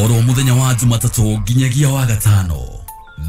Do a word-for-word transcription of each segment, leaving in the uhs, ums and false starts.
Oro muthenya wa Jumatatu nginyagia wa gatano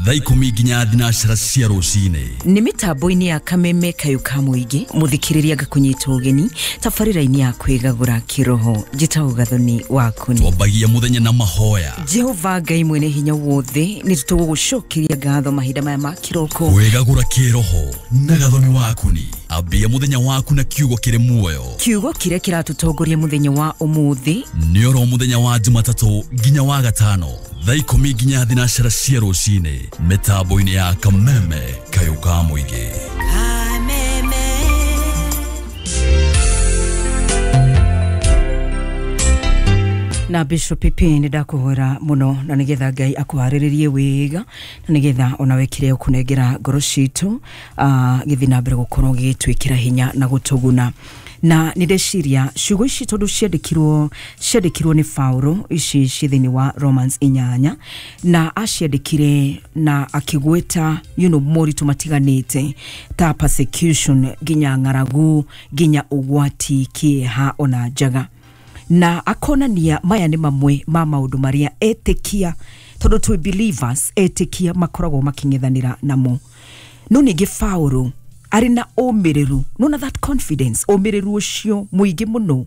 thaa ikumi nginya thinacara cia rucini. Nĩ mĩtambo-inĩ ya Kameme Kayũ ka Mũingĩ mũthikĩrĩria ngakũnyita ũgeni tabarĩra-inĩ ya kwĩgagũra kĩroho. Njĩtagwo Gathoni Wakuni. Twambagia mũthenya na mahoya. Jehova Ngai mwene hinya wothe, nĩ tũgũgũcokeria ngatho mahinda maya ma kĩroko. Kwĩgagũra kĩroho na Gathoni Wakuni. Ambia mũthenya waku na kiugo kĩrĩ muoyo. Kiugo kĩrĩa kĩratũtongoria mũthenya wa ũmũthĩ nĩ oro mũthenya wa Jumatatũ nginya wa gatano thaa ikumi nginya thinacara cia rucini mĩtambo-inĩ ya Kameme Kayũ ka Mũingĩ. Na Bishop Pipi nĩ ndakũhoera mũno na nĩgetha Ngai akũharĩrĩrie wega na nĩgetha onawe kĩrĩa ũkũnengera ngoro citũ gĩthiĩ na mbere gũkorwo gĩgĩtwĩkĩra hinya na gũtũguna. Na nĩ ndeciria ciugo ici tondũ ciandĩkirwo ciandĩkirwo nĩ Paulo ici ci thĩinĩ wa Romans inyanya, na aciandĩkire na akĩgweta you know moritũ matiganĩte ta persecution nginya ng'aragu nginya ũgwati kĩeha ona njaga, na akonania maya nĩ mamwe ma maũndũ marĩa etĩkia tondũ twĩ believers etĩkia makoragwo makĩng'ethanĩra namo. No ningĩ Paulo arĩ na ũmĩrĩru, nona that confidence, ũmĩrĩru ũcio mũingĩ mũno,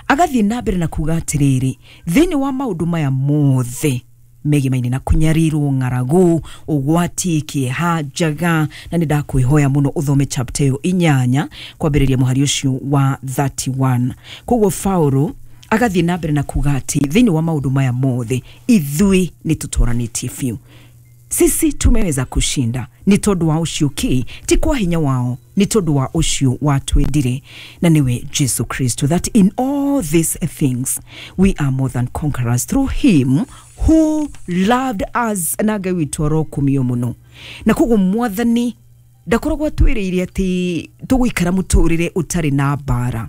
agathiĩ na mbere na kuga atĩrĩrĩ, thĩinĩ wa maũndũ maya mothe megimaine na kũnyarirwo, ng'aragu, ũgwati, kĩeha, njaga, na nĩ ndakwĩhoya mũno ũthome chapter ĩyo inyanya kwambĩrĩria mũhari ũcio wa thirty-one. Koguo Paulo agathiĩ na mbere na kuga atĩ thĩinĩ wa maũndũ maya mothe ithuĩ nĩ tũtoranĩtie biũ. Sisi tumeweza kushinda ni tondũ wa ũcio ki ti kwa hinya wao, ni tondũ wa ũcio watwendire na niwe Jesu Kristo, that in all these things we are more than conquerors through him who loved us. Na Ngai witũ arokumio mũno. Na koguo Mwathani ndakoragwo atwĩrĩire atĩ tũgũikara mũtũrĩre ũtarĩ na mbara.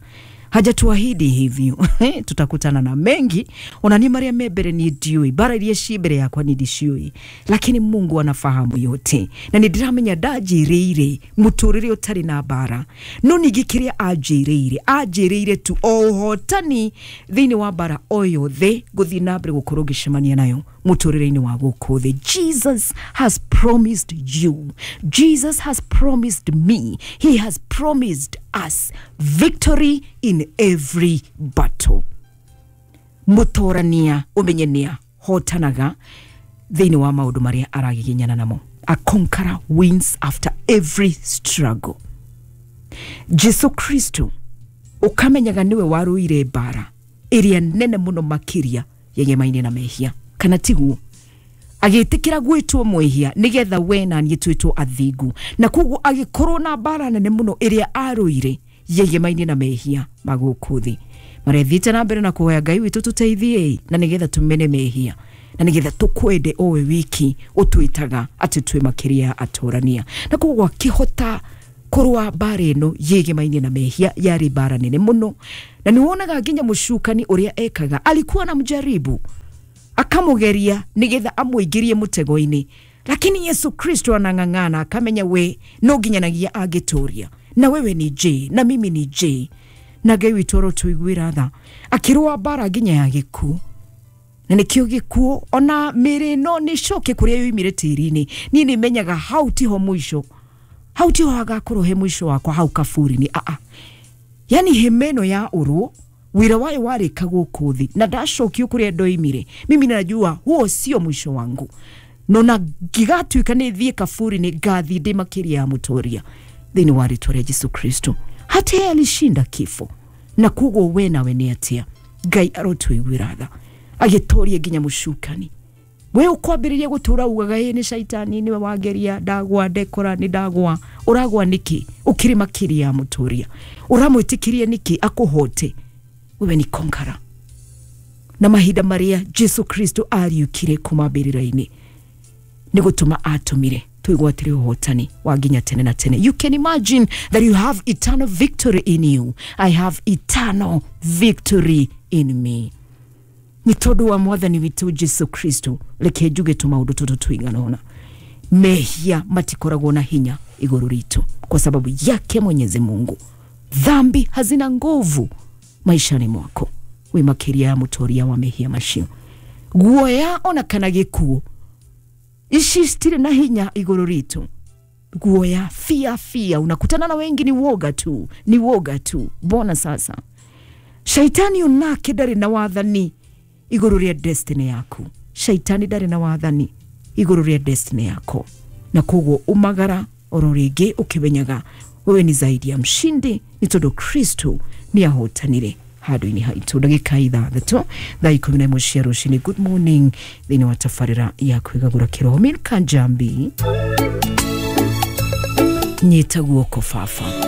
Hajatuahidi hivyo. Tutakutana na mengi. Ona ni maria me mbere ni ndiũĩ, mbara iria ci mbere yakwa ni ndiciũĩ, lakini Mungu anafahamu yote. Na nĩ ndĩramenya ndanjĩrĩire mũtũrĩre ũtarĩ na mbara, no ningĩ kĩrĩa anjĩrĩire anjĩrĩire tu o ũhotani thĩinĩ wa mbara o yothe ngũthiĩ na mbere gũkorwo ngĩcemania nayo mũtũrĩre-inĩ wa gũkũ thĩ. Jesus has promised you, Jesus has promised me, he has promised us victory in every battle. Mũtorania ũmenye nĩa hotanaga thĩinĩ wa maũndũ marĩa aragiginyana namo. A conqueror wins after every struggle. Jesu Kristo ũkamenyaga nĩwe warũire mbara ĩrĩa nene mũno makĩria yegemaine na mehia, kana tiguo? Agĩtĩkĩra gwĩtwo mwĩhia nĩgetha we na niĩ twĩtwo athingu, na koguo agĩkorwo na mbara nene mũno ĩrĩa arũire yegemaine na mehia ma gũkũ thĩ. Marĩa thiĩte na mbere na kũhoya Ngai witũ tũteithie na nĩgetha tũmene mehia na nĩgetha tũkwende owe wiki ũtwĩtaga atĩ twĩ makĩria atũrania. Na koguo akĩhota kũrũa mbara ĩno yegemaine na mehia, yarĩ mbara nene mũno, na nĩ wonaga nginya mũcukani ũrĩa ekaga, alikuwa na mjaribu akamũgeria nĩgetha amũingĩrie mũtego-inĩ, lakini Yesu Kristo anang'ang'ana akamenya we no nginyanagia angĩtũria, na wewe ni J na mimi ni J, na Ngai witũ arotũiguĩra tha. Akĩrũa mbara nginya ya gĩkuũ, na nĩkĩo gĩkuũ ona mĩĩrĩ ĩno nĩ coke kũrĩa yoimire tĩri-inĩ. Niĩ nĩ menyaga hau tiho mũico, hau tiho hagakorwo he mũico wakwa, hau kaburi-inĩ. Aa, yani hema ĩno ya ũrũ wĩra wayo warĩka gũkũ thĩ na ndacokio kũrĩa ndoimire, mimi najua huo sio mwisho wangu, no na ngigatuĩka nĩ thiĩ kaburi-inĩ ngathiĩ ndĩ makĩria ya mũtoria thĩinĩ wa rĩtwa rĩa Jesu Kristo. Hata yeye alishinda kifo, na koguo we nawe nĩ atĩa? Ngai arotũiguĩra tha, agĩtoria nginya mũcukani. We ũkwambĩrĩria gũtũra ugaga ĩ nĩ caitani nĩwe wangeria, ndagwa ndekora nĩ ndagwa. Ũragwa nĩkĩ ũkĩrĩ makĩria ya mũtoria? Ũramwĩtĩkĩria nĩkĩ akũhote? Wewe ni conqueror. Na mahinda marĩa Jesu Kristo ariũkire kuma mbĩrĩra-inĩ nĩ gũtũma atũmire twĩgwatĩre ũhotani wa nginya tene na tene. You can imagine that you have eternal victory in you. I have eternal victory in me. Nĩ tondũ wa Mwathani witũ Jesu Kristo, reke njuge tũmaũndũ tũtũ tũigana ũna. Mehia matikoragwo na hinya igũrũ ritũ kwa sababu yake Mwenyezi Mungu. Dhambi hazina nguvu maishani mwako. Wi makiria ya mutoria wa mehia macio. Guoya ona kana gĩkuũ ici citirĩ na hinya igũrũ ritũ. Guoya, fia fia, unakutana na wengi ni woga tu, ni woga tu. Bona sasa shaitani onake ndarĩ na wathani igũrũ rĩa destiny yaku. Shaitani ndarĩ na wathani igũrũ rĩa destiny yako, na koguo umagara oro rĩngĩ ũkĩmenyaga wewe ni zaidi ya mshindi, nĩ tondũ Kristo nĩ ahotanire handũ-inĩ haitũ. Ndagĩka ithathatũ thaa ikũmi na ĩmwe cia rũcinĩ. Good morning thĩinĩ wa tabarĩra ya kwĩgagũra kĩroho. Milka Njambi, nyita guoko baba.